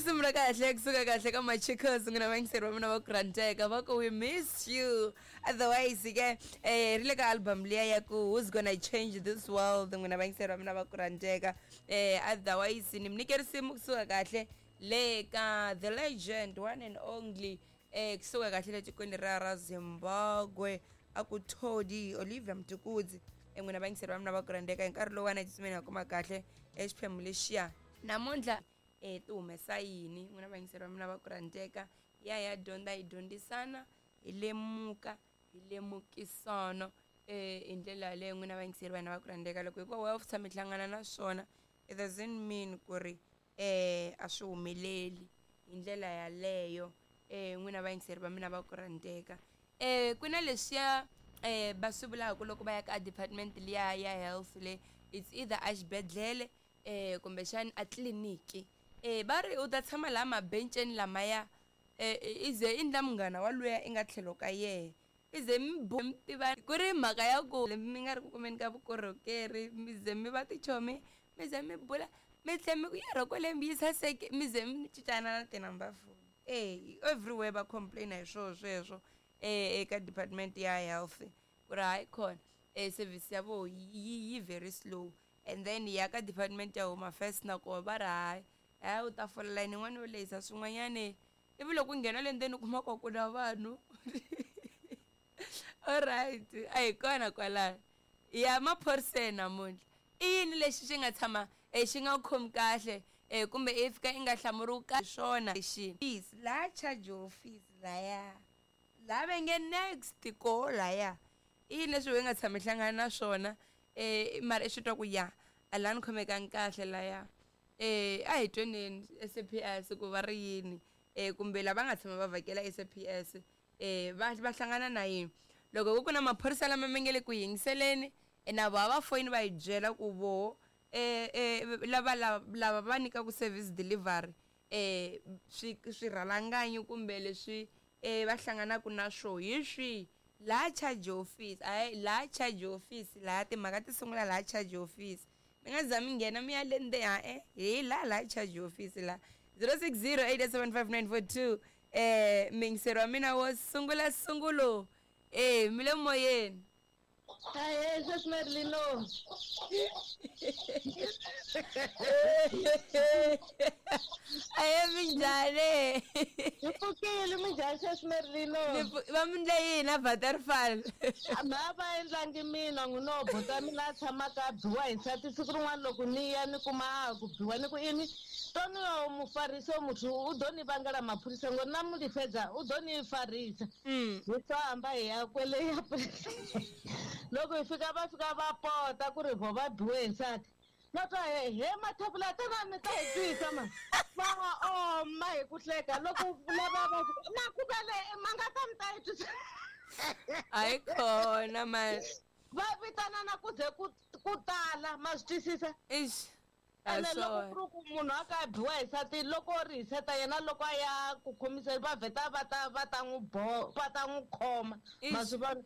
Risimu ra kahle kusuka kahle ka Machicos, n'wina vayingiseri va mina va ku rhandzeka, va ku we miss you. Otherwise ke ri le ka album liya ya ku Who's Gonna Change This World, n'wina vayingiseri va mina va ku rhandzeka. Otherwise ni mi nyike risimu kusuka kahle le ka the legend one and only, kusuka kahle le tikweni ra Zimbabwe, a ku Todi Olivia Mtukudzi. N'wina vayingiseri va mina va ku rhandzeka, hi nkarhi lowu wa tsutsumeni ha kuma kahle exiphemu lexiya namuntlha ti humesa yini. N'wina vayingiseri va mina va ku rhandzeka, ya dyondza, hi dyondzisana, hi lemuka, hi lemukisana hi ndlela yaleyo. N'wina vayingiseri va hina va ku rhandzeka, loko hikuva wa tshama hi hlangana na swona, it doesn't mean ku ri a swi humeleli hi ndlela yaleyo. N'wina vayingiseri va mina va ku rhandzeka, ku na leswiya va swi vulaka loko va ya ka department liya ya health le, it's either a xibedhlele kumbexani a tliliniki, va ri u ta tshama laha mabenceni lamaya, i ze i ndla munghana wa luya i nga tlhelo ka yehe, i ze mi mi tiva ku ri mhaka ya ku mi nga ri ku kumeni ka vukorhokeri, mi ze mi va tichomi, mi ze mi bula, mi tlhe mi ku yerho kwale mi yi saseke, mi ze mi cincana na ti-number phone. Everywhere va complain hi swoho sweswo eka department ya health, ku ri hayi khona service ya voho yi very slow. And then ya ka department ya home affairs na koho va ri hayi hayi, u ta fola layini yin'wana yo lehisa swin'wanyani, ivi loko u nghena le ndzeni u kuma ku ku na vanhu. Alright, a hi kona kwalano ya maphoriseni namuntlha. I yini lexi xi nga tshama xi nga khomi kahle, kumbe i fika i nga hlamuriwi kahle swona lexi laha charge office laya laha va nge next koho laya, i yini leswi we nga tshami hlangana na swona, mara i swi twa ku ya a laha ni khomekangi kahle laya? A hi tweneni SAPS ku va ri yini, kumbe lava nga tshama va vhakela SAPS, va hlangana na yini loko ku na maphorisa lama mi nge le ku yingiseleni, na voho va foyini va hi byela ku voho lava lava va nyikaku service delivery, swi swirhalanganyi kumbe leswi va hlanganaka na swo hi swihi laha charge office. Hayi, laha charge office laha timhaka ti sungula laha charge office, mi nga za mi nghena mi ya le ndzeni, ha-e, hi laha charge office laha. 0608755942. Miyingiseri wa mina wo sungula sungulo, mi le moyeni. Ahee, sweswi Marilino. Ahe, minjhani? Hi pfukile, minjhani sweswi Marilino? Va mi ndle yini a Waterfall? Ma va endlangi mina n'wino buta mina a tshamaka a biwa hi nsati. Siku rin'wana loko ni ya ni kuma a ku biwa, ni ku ini toni yo mufarisi o muthu u ḓo ni vangela maphorisa ngori na mu lifhedza u ḓo ni farisa. Hi famba hi ya kwele ya loko hi fika, va fika va pota ku ri vo va biwe hi nsati. No twa he mathapula tana mi ta hi twisa ma va oma hi ku hleka loko lava va na ku vele ma nga ta mi ta hi twisa. Hayi khona man. Va vitanana ku ze ku tala, ma swi twisisa. Ix. Ene loko ku ri ku munhu a ka a biwa hi nsati, loko ri hiseta yena loko a ya ku khomisa, va vheta va ta n'wi va ta n'wi khoma, ma swi vona.